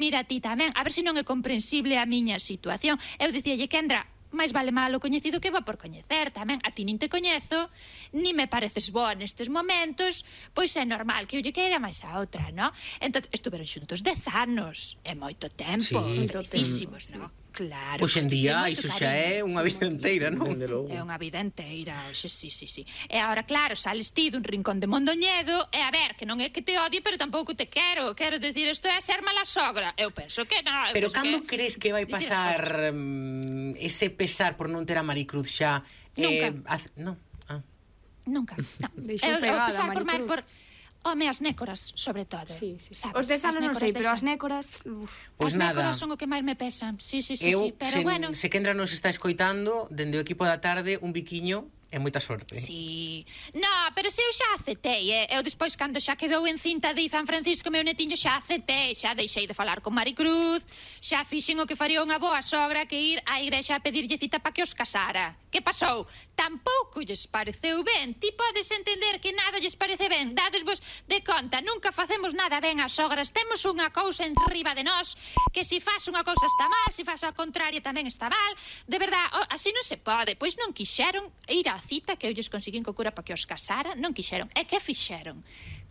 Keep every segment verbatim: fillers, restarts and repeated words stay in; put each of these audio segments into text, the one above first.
Mira, ti tamén, a ver se non é comprensible a miña situación. Eu dicíalle, Kendra, máis vale malo coñecido que bo por coñecer tamén. A ti nin te coñezo, ni me pareces boa nestes momentos, pois é normal que eu lle queira máis a outra, non? Entón, estuveron xuntos dez anos, é moito tempo, sí, felicísimos, non? Claro. Pois en día iso xa é unha vida inteira, non? É unha vida inteira, oxe, sí, sí, sí. E agora, claro, sales ti dun rincón de Mondoñedo, e a ver, que non é que te odie, pero tampouco te quero. Quero decir, isto é ser mala sogra. Eu penso que non. Pero cando crees que vai pasar um, ese pesar por non ter a Maricruz xa? Nunca. Eh, haz... Non. Ah. Nunca. No. Deixou pegada pesar a por, Maricruz. por... Home, as nécoras, sobre todo. Sí, sí, sí. Sabes? Os dez anos non sei, pero as deixan. nécoras... Uf. Pois as nada. nécoras son o que máis me pesan. Sí, sí, sí, Eu, sí, pero se, bueno. se Kendra nos está escoitando, dende o equipo da tarde, un biquiño é moita sorte. Sí. No, pero se eu xa aceptei, eh? Eu despois, cando xa quedou en cinta de San Francisco, meu netiño, xa aceptei, xa deixei de falar con Maricruz, xa fixen o que faría unha boa sogra, que ir á igrexa a pedirlle cita para que os casara. Que pasou? Tampouco lles pareceu ben. Ti podes entender que nada lles parece ben. Dadesvos de conta, nunca facemos nada ben as sogras. Temos unha cousa enriba de nós, que se faz unha cousa está mal, se faz ao contrario tamén está mal. De verdad, oh, así non se pode. Pois non quixeron ir á cita que eu lles conseguín co cura para que os casara, non quixeron. E que fixeron?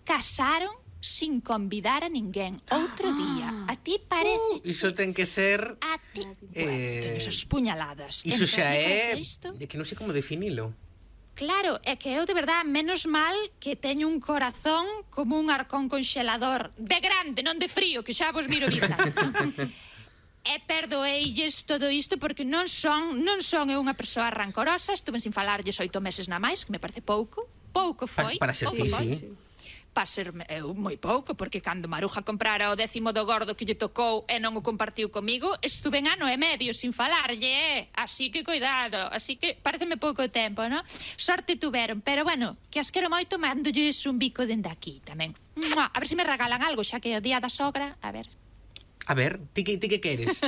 Casaron sin convidar a ninguén. Outro ah. día. A ti parece... Uh, iso ten que ser... A ti... Eh... Bueno, ten esas puñaladas. Iso xa é... Isto? De que non sei como definilo. Claro, é que eu de verdad, menos mal que teño un corazón como un arcón conxelador. De grande, non de frío, que xa vos miro vida. E perdoeilles todo isto porque non son non son eu unha persoa rancorosa. Estuve sin falarlles oito meses na máis, que me parece pouco. Pouco foi. Para, para ser ti, sí. Para ser eu moi pouco, porque cando Maruja comprara o décimo do gordo que lle tocou e non o compartiu comigo, estuve en ano e medio sin falarlle, eh? Así que cuidado, así que pareceme pouco tempo, non? Sorte tuveron, pero bueno, que as quero moito, mándolles un bico dende aquí tamén. Mua, a ver se me regalan algo, xa que é o día da sogra, a ver. A ver, ti que, ti que queres?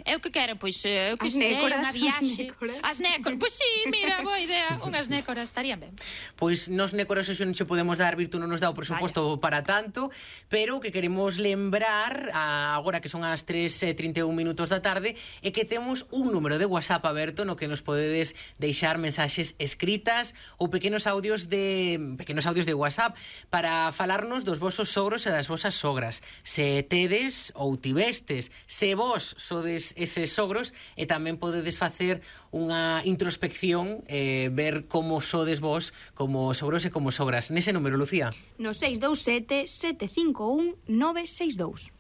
Eu que quero, pois, eu que as sei, nécoras, unha viaxe. As nécoras. As nécoras, pois sí, mira, boa idea. Unhas nécoras estarían ben. Pois nos nécoras hoxe non che podemos dar, Virtu non nos dá o presuposto Vaya. Para tanto, pero que queremos lembrar, a, agora que son as tres e trinta e un minutos da tarde, é que temos un número de WhatsApp aberto no que nos podedes deixar mensaxes escritas ou pequenos audios de pequenos audios de WhatsApp para falarnos dos vosos sogros e das vosas sogras. Se tedes ou tivestes, se vos sodes eses sogros, e tamén podedes facer unha introspección, eh, ver como sodes vos como sogros e como sogras. Nese número, Lucía. No seis dous sete, sete cinco un, nove seis dous.